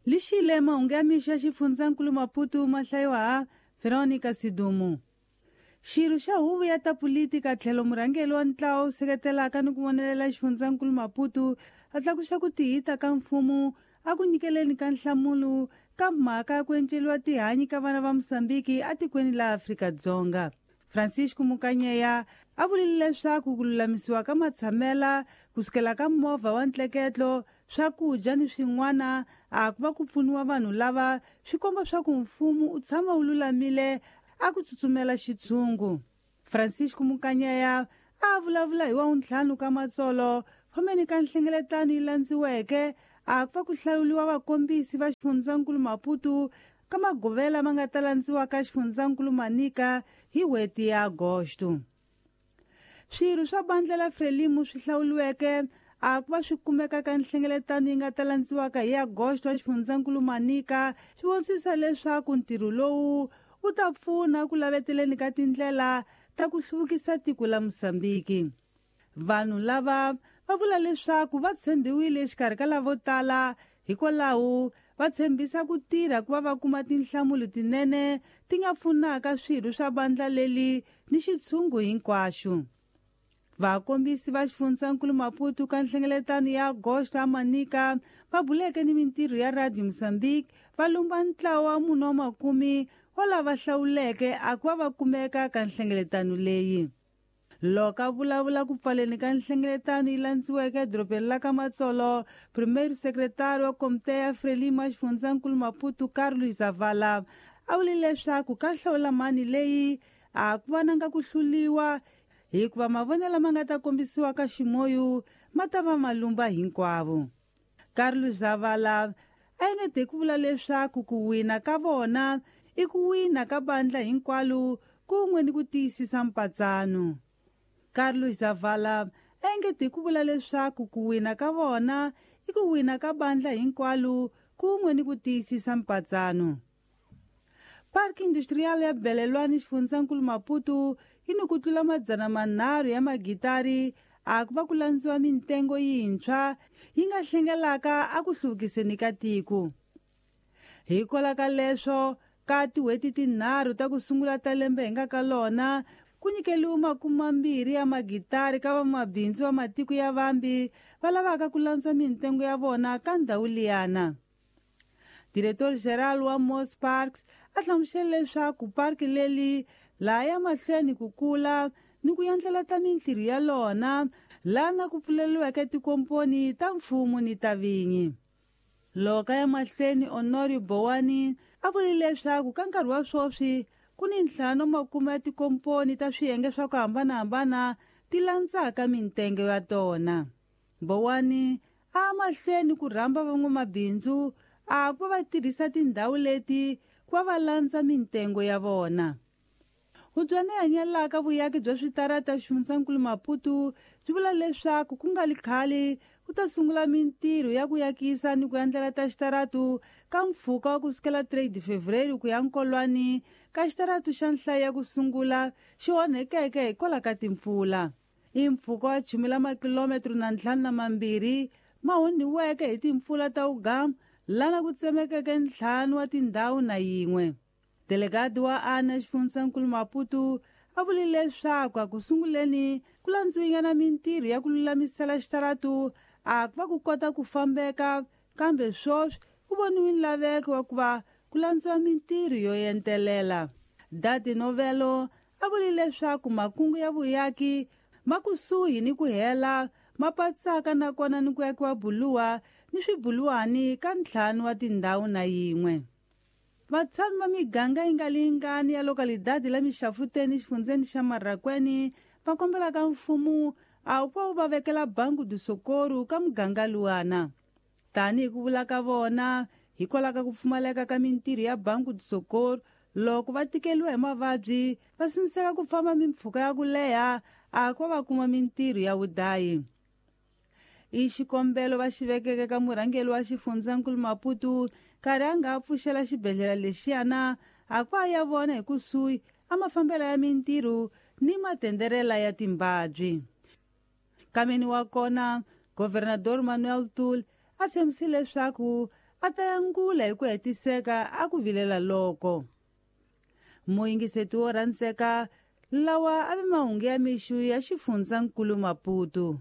Lixile mahungu ya mixo ya xifundzankulu Maputo ma hlayiwa ha Veronica Sidumo. Xirho xa huvo ya ta politika tlhelo murhangeri wa ntlawa wu seketelaka ni ku vonelela xifundzankulu Maputo a tlakuxa ku tihita ka mfumo a ku nyikeleni ka nhlamulo ka mhaka ya ku enceliwa tihanyi ka vana va Mosambiki atikweni la Afrika-Dzonga. Francisco Mukanyeya a vulile leswaku ku lulamisiwa ka matshamela kusukela ka movha wa ntleketlo, swakudya ni swin'wana a ku va ku pfuniwa vanhu lava swi komba swa ku mfumo u tshama wu lulamile a ku tsutsumela xitshungu. Francisco Mukanyeya a vulavula hi wavuntlhanu ka matsolo fambeni ka nhlengeletano yi landziweke a ku va ku hlawuriwa vakombisi va xifundzankulu Maputo ka magovela ma nga ta landziwa ka xifundzankulu Manica hi n'hweti ya Agosto. Swirho swa bandla la Frelimo swi hlawuriweke a ku va swi kumeka ka nhlengeletano yi nga ta landziwaka hi Agosto wa xifundzankulu Manica swi vonisisa leswaku ntirho lowu wu ta pfuna ku laveteleni ka tindlela ta ku hluvukisa tiko la Mosambiki. Vanhu lava va vula leswaku va tshembiwile exikarhi ka lavo tala, hikwalaho va tshembisa ku tirha ku va va kuma tinhlamulo tinene ti nga pfunaka swirho swa bandla leli ni xitshungu hinkwaxo. Vakombisi va xifundzankulu Maputo ka nhlengeletano ya Agosto a Manica va buleke ni mintirho ya Radio Mozambique va lumba ntlawa wa munhu wa makumi wa lava hlawuleke a ku va va kumeka ka nhlengeletano leyi. Loko a vulavula ku pfaleni ka nhlengeletano yi landziweke edorobeni la ka Matsolo, Primeiro Secretário wa Komite ya Frelimo ya xifundzankulu Maputo Carlos Zavala a vule leswaku ka hlawula mani leyi a ku va nanga ku hluliwa hikuva mavonelo lama nga ta kombisiwa ka ximoyu ma ta va malumba hinkwavo. Carlos Zavala a engete ku vula leswaku ku wina ka vona i ku wina ka bandla hinkwalo kun'we ni ku tiyisisa mpatsano. Carlos Zavala a engete ku vula leswaku ku wina ka vona i ku wina ka bandla hinkwalo kun'we ni ku tiyisisa mpatsano. Park Industrial ya Belelwani xifundzankulu Maputo yi ni ku tlula 300 ya magitari a ku va ku landziwa mintengo yintshwa yi nga hlengelaka a ku hluvukiseni ka tiko. Hikwalaho ka leswo ka tin'hweti tinharhu ta ku sungula ta lembe hi nga ka lona ku nyikeliwe 20 ya magitari ka vamabindzu va matiko ya vambi va lavaka ku landza mintengo ya vona ka ndhawu liyana. Diretor Geral wa Mos Parks a hlamusele leswaku parki leli laha ya mahlweni ku kula ni ku endlela ta mintirho ya lona laha na ku pfuleriweke tikomponi ta mfumo ni ta vinyi. Loko ya mahlweni Honorio Bowani a vule leswaku ka nkarhi wa sweswi ku ni ntlhanu makume ya tikomponi ta swiyenge swa ku hambanahambana ti landzaka mintengo ya tona. Bowani a mahlweni ku rhamba van'wamabindzu a ku va va tirhisa tindhawu leti ku va va landza mintengo ya vona. Hubyana yi hanyelaka vuyaki bya switarata xifundzankulu Maputo byi vula leswaku ku nga li khale ku ta sungula mintirho ya ku yakisa ni ku endlela ta xitaratu ka mpfhuka wa ku sukela 3 de Fevereiro ku ya Nkolwani ka xitaratu xa nhlayo ya ku sungula xi onhekeke hikwalaho ka timpfula. I mpfhuka wa chumi la makilometro na ntlhanu na mambirhi ma onhiweke hi timpfula ta wugamu lana ku tsemekeke ntlhanu wa tindhawu na yin'we. Delegado wa ANA xifundzankulu Maputo a vule leswaku a ku sunguleni ku landziwinyana mintirho ya ku lulamisela xitaratu a ku va ku kota ku fambeka, kambe sweswi ku voniwe nlaveko wa ku va ku landziwa mintirho yo entelela. Dadi Novelo a vule leswaku makungu ya vuyaki ma kusuhi ni ku hela ma patsaka nakona ni ku yakiwa buluwa ni swibuluwani ka ntlhanu wa tindhawu na yin'we. Vatshami va miganga yi nga lingani ya lokalidadi la Mixafuteni xifundzeni xa Marracuene va kombela ka mfumo a wu va wu va vekela Banco do Socorro ka muganga luwana. Tanihi ku vula ka vona hikwalaho ka ku pfumaleka ka mintirho ya Banco do Socorro loko va tikeliwa hi mavabyi va sindziseka ku famba mimpfhuka ya ku leha a ku va va kuma mintirho ya vudayi. I xikombelo va xi vekeke ka murhangeri wa xifundzankulu Maputo nkarhi a nga pfuxela xibedhlele lexiyana a ku a ya vona hi kusuhi a mafambelo ya mintirho ni matenderela ya timbabyi. Kameni wa kona Governador Manuel Tul a tshembisile leswaku a ta yangula hi ku hetiseka a ku vilela loko. Muyingiseti wo rhandzeka, lawa a ve mahungu ya mixo ya xifundzankulu Maputo.